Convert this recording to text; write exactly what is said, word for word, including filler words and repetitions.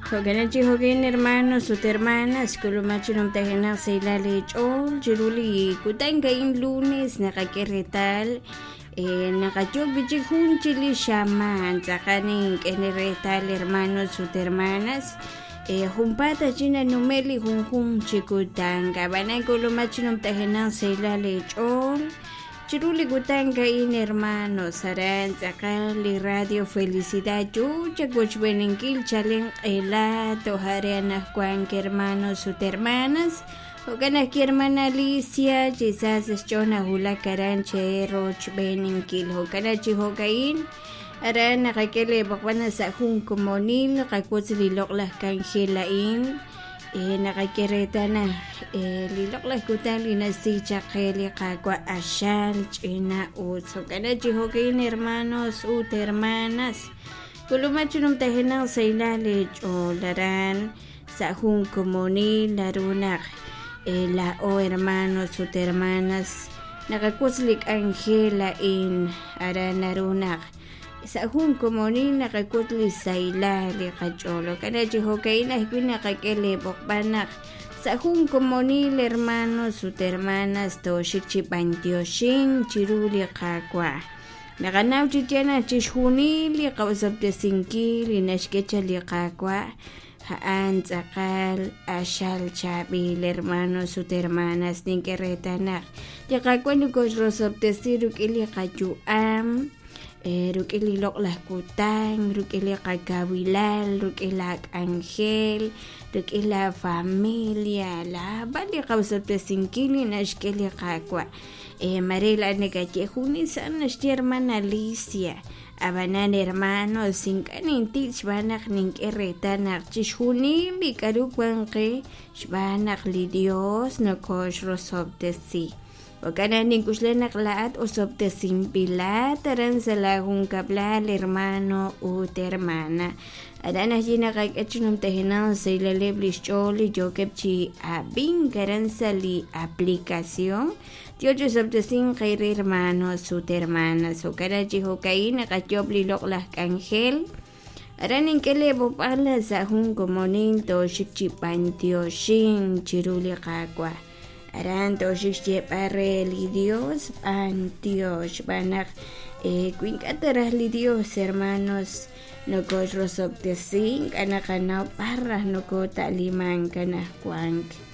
Jo'kan chi jo'kin hermanos ut hermanas k'ulumak chi numtajenaq sahilal leech'ool chiru li kutan a'in lunes naqak'e reetal naqayoob' wi'chik jun chi li xamaan tz'aqal nink'e reetal hermanos ut hermanas junpaat chi nanume' li junjunq chi kutan ab'anan k'ulumak chi numtajenaq sahilal leech'ool chiru li kutan a'in hermanos aran tz'aqal li Radio Felicidad yoo chawochb'eninkil chalen q'ela toj are anajwank hermanos ut hermanas jo'kan ajwi' hermana Alicia chi sa sa' xch'ool nawulak aran cherochb'eninkil jo'kan chi jo'ka'in aran naqak'e leeb'oqb'al sa' jun komonil qawotz li loq'laj k'anjel a'in naqak'e reetal naq li loq'laj kutan li nasi chaq qe li Qaawa' q'axal ch'ina ut jo'kan chi jo'ka'in hermanos ut hermanas k'ulumak chi numtajenaq sahilal leech'ool aran sa' jun komonil naru naq laa'o hermanos ut hermanas naqawotz li k'anjel a'in aran naru naq sa' jun komonil naqawotz li sahilal li qach'ool jo'kan chi jo'ka'in ajwi' naqak'e leeb'oqb'al naq sa' jun komonil hermanos ut hermanas tooxik chi b'antioxin chiru li Qaawa' naqanaw chi yaal naq chixjunil li qawsob'tesinkil li naxk'e chaq li Qaawa' a'an tz'aqal q'axal chaab'il hermanos ut hermanas nink'e reetal naq li Qaawa' nokoxrosob'tesi rik'in li qayu'am rik'in li loq'laj kutan rik'in li qakawilal rik'in la k'anjel rik'in la familia laab'al li qawsob'tesinkil li naxk'e li Qaawa' mare laa'at nakaye junes a'an naxye hermana Alicia ab'anan hermanos ink'a' nintik xb'aan naq nink'e reetal naq chixjunil li k'aru wan qe xb'aan naq li Dios nokoxrosob'tesi jo'kan naq nink'uxla naq laa'at osob'tesinb'ilat aran sa' la junkab'lal hermano ut hermana aran ajwi' naqak'e chi numtajenaq sahilaleb' li xch'ool li yookeb' chi ab'ink aran sa' li aplicación yo chi osob'tesink qe re hermanos ut hermanas jo'kan chi jo'ka'in naqayoob' li loq'laj k'anjel aran nink'e leeb'oqb'al sa' jun komonil tooxik chi b'antioxin chiru li Qaawa' aran tooxik xyeeb'al re li Dios b'antiox xb'aan naq wi ink'a' ta raj li Dios hermanos nokoxrosob'tesi ink'a' naqanaw b'ar raj nokota'limank anajwank